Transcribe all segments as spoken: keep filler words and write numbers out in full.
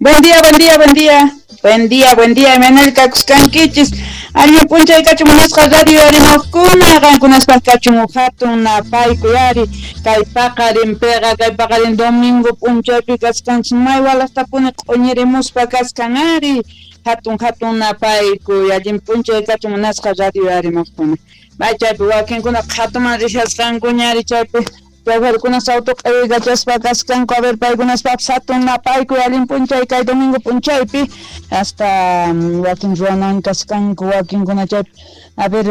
Buen día, buen día, buen día. Buen día, buen día, Emanuel kakuskankichis. Allin p'unchay kachun munasqa radio rimaqkuna, qankunaspaq kachun hatun napaykuy ari. Kay paqarinpiqa, kay paqarin domingo p'unchaypi kaskanchis may walaqtapuni q'uñirimuspa kaskan ari. Hatun hatun napaykuy, allin p'unchay kachun munasqa radio rimaqkuna. May chaypi wakinkuna qhatuman rishasqankuña ari chaypi. Choferkunas auto q'iykachaspa kaskanku, a ver paykunaspapis hatun napaykuy allin p'unchay kay domingo p'unchaypi hasta wakin ruwanan kaskanku wakinkuna chaypi a ver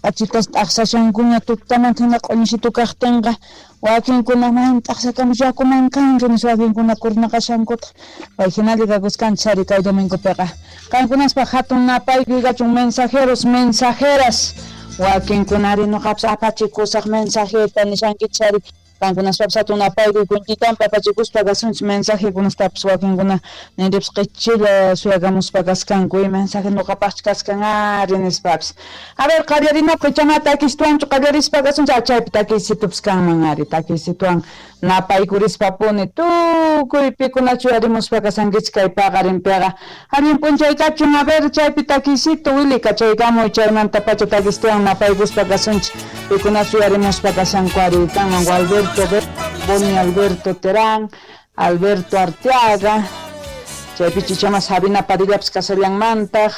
p'achitas t'aqsashankuña tutamanta hina q'uñisitu kaqtinqa wakinkuna maymi t'aqsakamus yakuman kanki nispa wakinkuna kurnaqashankutaq pay hinalla kakuskanchis ari kay domingopiqa qankunaspaq hatun napaykuy kachun mensajeros mensajeras wakinkunari nuqapas apachikusaq mensajeta nishankichis ari qankunaspapis hatun napaykuy kuntitampi apachikuspa kasunchis mensajekunastapis wakinkuna ninripas qichilla suyakamuspa kaskanku y mensaje nuqapaqchu kaskan ari nispapis. A ver qallarinapaq ichaqa takistuwanchu qallarispa kasunchis chaypi takiysitupas kanman ari takiysituwan napaykurishpapuni tukuy pikunachu yarimuspa kasankichis kay paqarinpiqa allin p'unchay kachun a ver chaypi takiysitu Willy kachaykamuy chaymantapacha takistuwan napaykuspa kasunchis pikunachu yarimuspa kashanku ari kanman Gualberto Boni Alberto Terán, Alberto Arteaga, chaypi chichama Sabina Padillapis kasallanmantaq,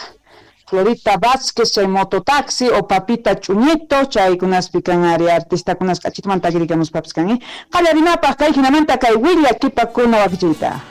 Florita Vázquez, chay mototaxi o Papita Chuñito, chaykunaspi kan ari artistakunas k'achitumanta takirikamuspapis kan, eh? Qallarinapaq kay hinamanta kay willakipakuna wakichiyta.